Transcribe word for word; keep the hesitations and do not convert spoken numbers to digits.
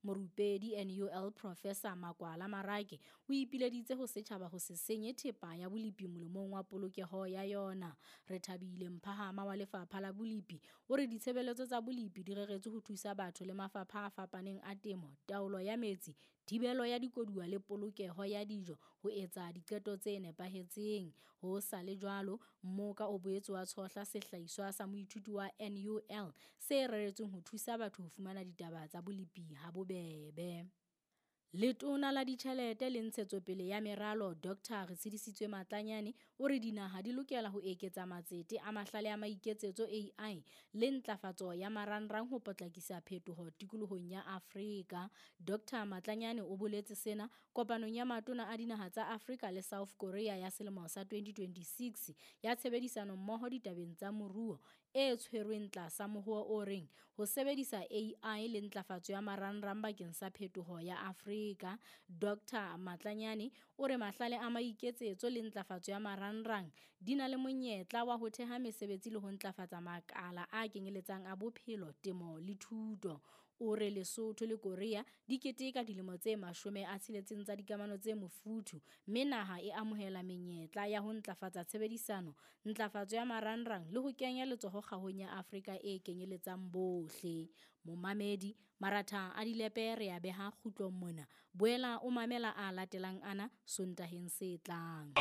Morupedi N U L Professor Makwala Marake o ipileditse ho setjhaba ho se senye thepa ya bolepi molemong wa polokeho ya yona. Rethabile Mphahama wa Lefapha la Bolepi o re ditshebeletso tsa bolepi di reretswe ho thusa batho le mafapha a fapaneng a temo, taolo ya metsi, thibelo ya dikoduwa le polokeho ya dijo ho etsa diqeto tse nepahetseng. Ho sa le jwalo, mmoka o boetse wa tshohla sehlahiswa sa moithuti wa N U L se reretsweng ho thusa batho ho fumana ditaba tsa bolepi habobebe. Letona la Ditjhelete le Ntshetsopele ya Meralo Doctor Retshidisitswe Matlanyane o re dinaha di lokela ho eketsa matsete a mahlale a maiketsetso A I le ntlafatso ya marangrang ho potlakisa phetoho tikolohong ya Afrika. Doctor Matlanyane o boletse sena kopanong ya matona a dinaha tsa Afrika le South Korea ya selemo sa twenty twenty-six ya tshebedisano mmoho ditabeng tsa moruo e tshwerweng tlasa mohoo o reng ho sebedisa A I le ntlafatso ya marangrang bakeng sa phetoho ya Afrika. Doctor Matlanyane o re mahlale a maiketsetso le ntlafatso ya marangrang di na le monyetla wa ho theha mesebetsi le ho ntlafatsa makala a kenyeletsang a bophelo, temo le thuto. O re Lesotho le Korea di keteka dilemo tse mashome a tsheletseng tsa dikamano tse mofuthu mme naha e amohela menyetla ya ho ntlafatsa tshebedisano, ntlafatso ya marangrang le ho kenya letsoho kgahong ya Afrika e kenyeletsang bohle. Momamedi, maratha a dilepe re a beha kgutlong mona. Boela o mamela a latelang ana Sontaheng se tlang.